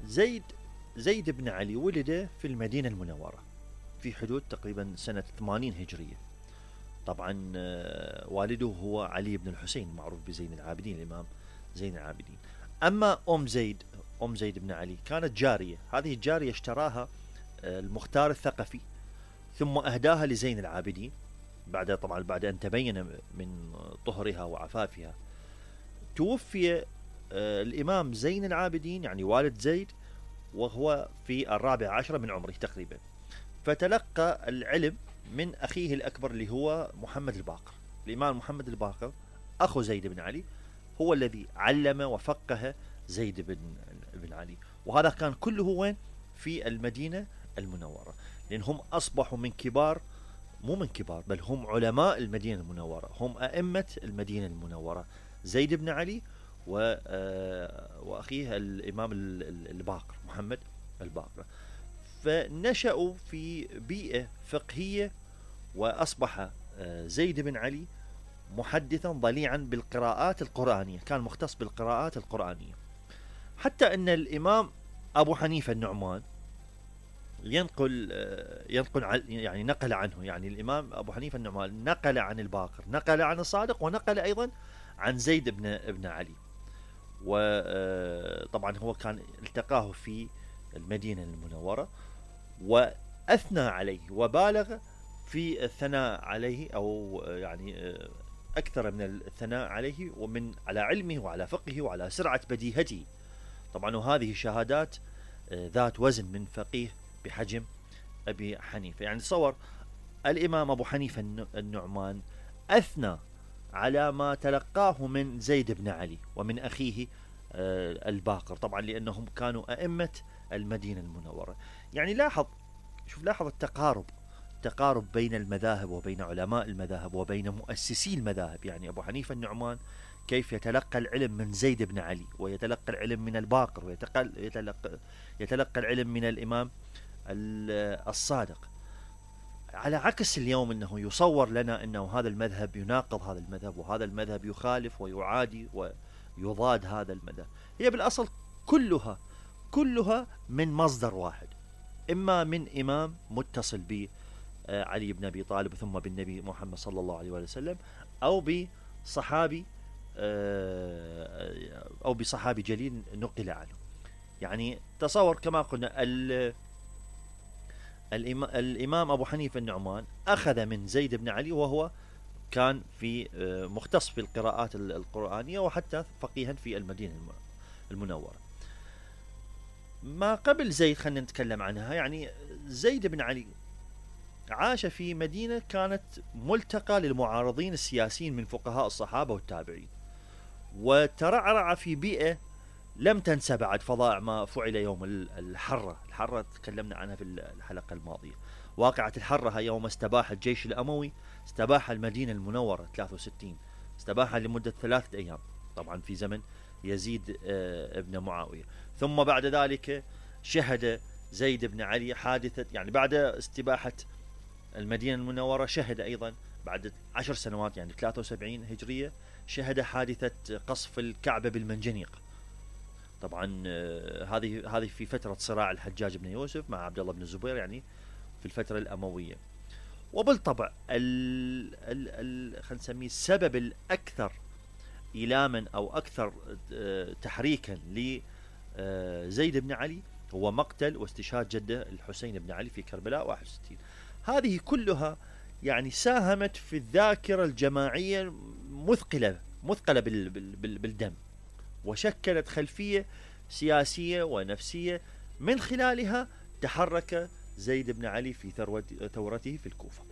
زيد زيد بن علي ولد في المدينة المنورة في حدود تقريبا سنة 80 هجرية. طبعا والده هو علي بن الحسين معروف بزين العابدين، الإمام زين العابدين. أما أم زيد بن علي كانت جارية، هذه الجارية اشتراها المختار الثقفي ثم أهداها لزين العابدين طبعا بعد أن تبين من طهرها وعفافها. توفي الإمام زين العابدين يعني والد زيد وهو في 14 من عمره تقريبا، فتلقى العلم من أخيه الأكبر اللي هو محمد الباقر. الإمام محمد الباقر أخو زيد بن علي هو الذي علم وفقه زيد بن علي، وهذا كان كله وين؟ في المدينة المنورة، لأنهم أصبحوا من كبار، مو من كبار بل هم علماء المدينة المنورة، هم أئمة المدينة المنورة، زيد بن علي وأخيه الإمام الباقر محمد الباقر. فنشأوا في بيئة فقهية، وأصبح زيد بن علي محدثا ضليعا بالقراءات القرآنية، كان مختص بالقراءات القرآنية، حتى أن الإمام أبو حنيفة النعمان ينقل يعني نقل عنه، يعني الإمام أبو حنيفة النعمان نقل عن الباقر، نقل عن الصادق، ونقل أيضا عن زيد بن علي. وطبعا هو كان التقاه في المدينة المنورة وأثنى عليه وبالغ في الثناء عليه، أو يعني أكثر من الثناء عليه ومن على علمه وعلى فقهه وعلى سرعة بديهته. طبعا وهذه شهادات ذات وزن من فقيه بحجم أبي حنيفة. يعني تصور الإمام أبو حنيفة النعمان أثنى على ما تلقاه من زيد بن علي ومن أخيه الباقر، طبعا لأنهم كانوا أئمة المدينة المنورة. يعني لاحظ التقارب بين المذاهب وبين علماء المذاهب وبين مؤسسي المذاهب. يعني أبو حنيفة النعمان كيف يتلقى العلم من زيد بن علي، ويتلقى العلم من الباقر، ويتلقى العلم من الإمام الصادق، على عكس اليوم أنه يصور لنا أنه هذا المذهب يناقض هذا المذهب، وهذا المذهب يخالف ويعادي ويضاد هذا المذهب. هي بالأصل كلها من مصدر واحد، إما من إمام متصل ب علي بن أبي طالب ثم بالنبي محمد صلى الله عليه وسلم، أو بصحابي جليل نقل عنه. يعني تصور كما قلنا الإمام أبو حنيفة النعمان أخذ من زيد بن علي، وهو كان في مختص في القراءات القرآنية وحتى فقيها في المدينة المنورة. ما قبل زيد خلينا نتكلم عنها. يعني زيد بن علي عاش في مدينة كانت ملتقى للمعارضين السياسيين من فقهاء الصحابة والتابعين، وترعرع في بيئة لم تنسى بعد فظائع ما فعل يوم الحرة تكلمنا عنها في الحلقة الماضية. واقعة الحرة يوم استباح الجيش الأموي، استباح المدينة المنورة 63، استباحها لمدة 3 أيام، طبعا في زمن يزيد ابن معاوية. ثم بعد ذلك شهد زيد بن علي حادثة، يعني بعد استباحة المدينة المنورة شهد أيضا بعد 10 سنوات يعني 73 هجرية شهد حادثة قصف الكعبة بالمنجنيق. طبعا هذه في فترة صراع الحجاج بن يوسف مع عبد الله بن الزبير، يعني في الفترة الأموية. وبالطبع خلينا نسميه السبب الأكثر إيلاما أو أكثر تحريكا لزيد بن علي هو مقتل واستشهاد جده الحسين بن علي في كربلاء 61. هذه كلها يعني ساهمت في الذاكرة الجماعية مثقلة بالدم، وشكلت خلفية سياسية ونفسية من خلالها تحرك زيد بن علي في ثورته في الكوفة.